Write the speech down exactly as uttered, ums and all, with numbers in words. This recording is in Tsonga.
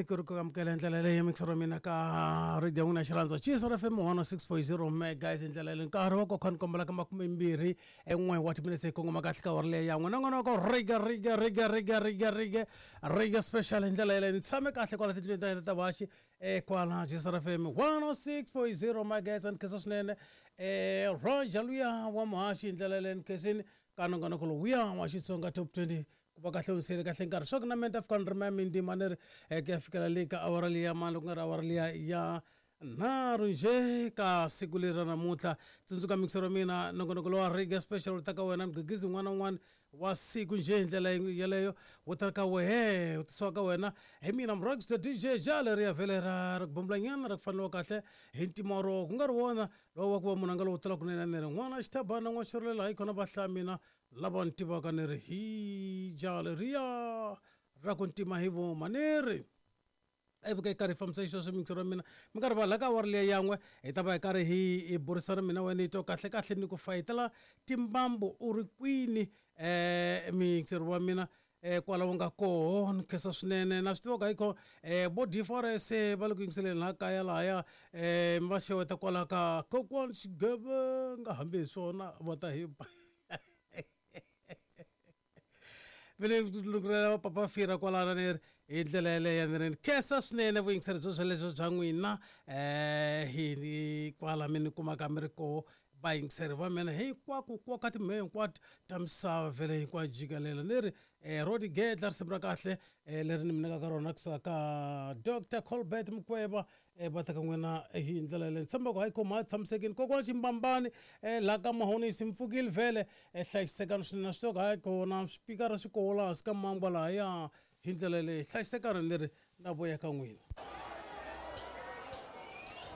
Ku ri ku amukela hi ndlela leyi mixer wa mina ka radio ya n'wina xirhandza Chizo F M one oh six point zero megahertz hi ndlela leyi nkarhi wa kokhani kombela ka makumembirhi en'we wa timinetse hi kongoma kahle ka awara leyi ya n'we nongonoko riga riga riga riga riga riga riga special hi ndlela yeleyo ni tshame kahle kwala tindlwini ta hina ta vaxi eh kwala Chizo F M one oh six point zero megahertz ni khensa swinene eh Roger luya wa muhaxi hi ndlela yeleyo ni khensini ka nongonoko lowuya wa Xitsonga Top twenty ku va kahle unisele kahle nkarhi swa ku na menta fika ni ri mintima ni ri ku ya fikela le ka awara liya mani loko ku nga ri awara liya ya nharhu nje ka siku leri ra namuntlha tsundzuka mixer wa mina nongonoko lowa Reggae Special wu ta ka wena mugegezi un'wana na un'wana wa siku nje hi ndlela yeleyo wu ta ka wehe wu tisiwa ka wena hi mina Mrox the D J ja leriya vhele ra ri ku bombulanyana ra ku faneliwa kahle hi ntima ro ku nga ri wona lowu wa ku va munhu a nga lowu tala kunene ni ri n'wana xithabana n'wana xirhulela hayi khona va hlaya mina lava ni tivaka ni ri hi ja leriya ra ku ntima hi voma ni ri ivi ka karhi hi fambisa xisweswo mixer wa mina mi karhi va la ka awara liya yan'we hi ta va hi karhi hi burisana mina wena hi twa kahle kahle ni ku fayetela timbambu u ri kwini um mixer wa mina um kwala wu nga koho ni khensa swinene na swi tiva ka hikho um vo D four S va le ku yingiseleni laha kaya lahaya um va xeweta kwala ka kokwani xigevenga hambi hi swona va ta hi ba vele lungurela papa fira kwalano ni ri hi ndlela yeleyo ni ri ni khensa swinene vuyingiseri byo byelebyo bya n'wina um hi kwala mi ni kumaka mi ri koho vayingiseri va mina hinkwako kwa ka timheho hinkwato ta misava vhele hinkwayo jikelele ni ri um Rodi Gedla risimu ra kahle um leri ni mi nyikaka rona kusuka ka Doctor Colbert Mukweva um va ta ka n'wina hi ndlela yeleyo ni tshemba ku hayi khoma tshamisekile kokwana ximbambani um laha ka mahonisi mi pfukile vhele um hlayisekani swinene swi tiva ku hayi kona swipikara swi koho laha hansi ka mangwa lahaya hi ndlela yeleyo hlayisekani ni ri na voya ka n'wina.